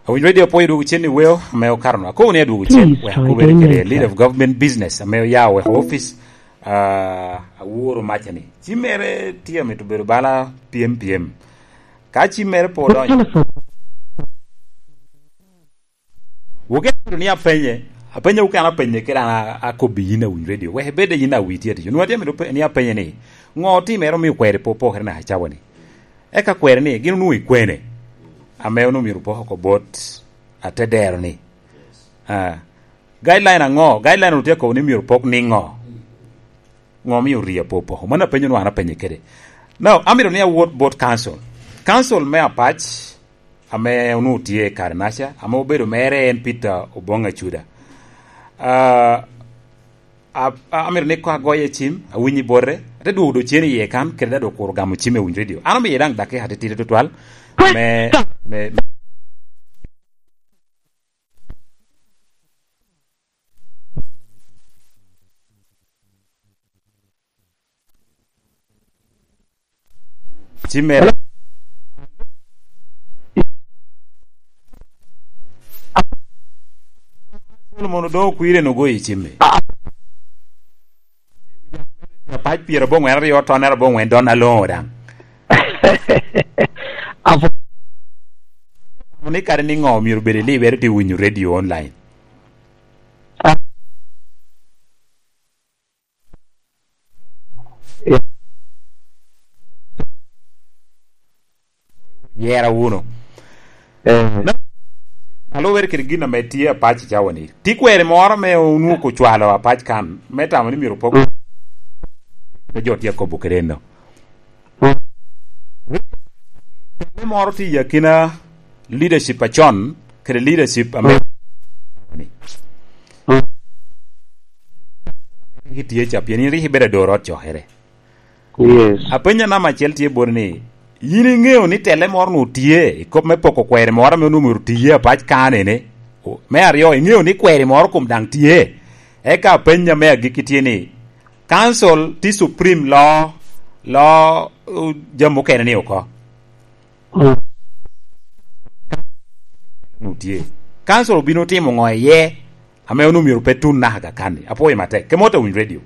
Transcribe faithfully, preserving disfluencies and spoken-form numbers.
Awinyo radio po idwogo cen i weo ame okato no. Akobo ni adwogo cen, wek akobere kede lead of government business ame oya weko office, ah, aworo maca ni. Ci mere tye amito bedo bala pyem pyem. Ka ci mere po odonyo. Wuke ni apenye, apenye wuke an apenye kede an a-, akobi yin Awinyo radio. Wek ibed yin awi tye atic. Onwoŋo atye amito pe-, ni apenye ni, ŋo otimere omio kweri po opokere naka cawa ni? Eka kweri ni, gin onwoŋo ikwene? Ame onwoŋo myero opok oko bot ate dero ni. Ah, guideline aŋo? Guideline otye akobo ni myero opok niŋo? Ŋo omio ri apo opoko? Mano apenyo nwa an apenye kede. Now, amito ni awot bot council. Council me Apac, ame onwoŋo tye i kare naca, ame obedo mere en Peter Obong Acuda. Ah, a-, a-, amito ni koŋ agoye cim, awinyo bote, ate dwogo do cen iye kan, kede dok okuro gamo cim i Awinyo radio. An omiye daŋ dakika atitidi tutwal, me, me, me Ci mere. Solomon odoŋo kwire no goyo i cimme. Apac pyero aboŋwen aryo, tonere aboŋwen, don aloŋo daŋ. Apo- Ni kare ni ŋo myero bed i libere tye winyo radio online. Yera wuno. Eh. Na-, alubere kede gin ame tye Apac i cawa ni. Ti kweri moro ame onwoŋo ocwalo Apac kan, me tamo ni myero opok. Mm. Ame jo tye akobo kede eno. Mm. Tele moro tye i akina leadership acon, kede leadership ame Mm. Mm. Rik itye ca, pien in rik ibedo ador ot cokere. Yes. Apenyo namba acel tye bot ni, yin iŋeo ni tele moro onwoŋo tye i kop me poko kweri moro ame onwoŋo myero tiye Apac kan ene? O, me aryo, iŋeo ni kweri moro kom daŋ tye? Eka apenyo me agikki tye ni, council tye supreme lo, lo, uh, jami mukene ni oko. Mm. Onwoŋo tye. Council obino timo ŋo iye? Ame onwoŋo myero pe tun naka kan-ni. Apwoyo matek. Kemota Winy Radio.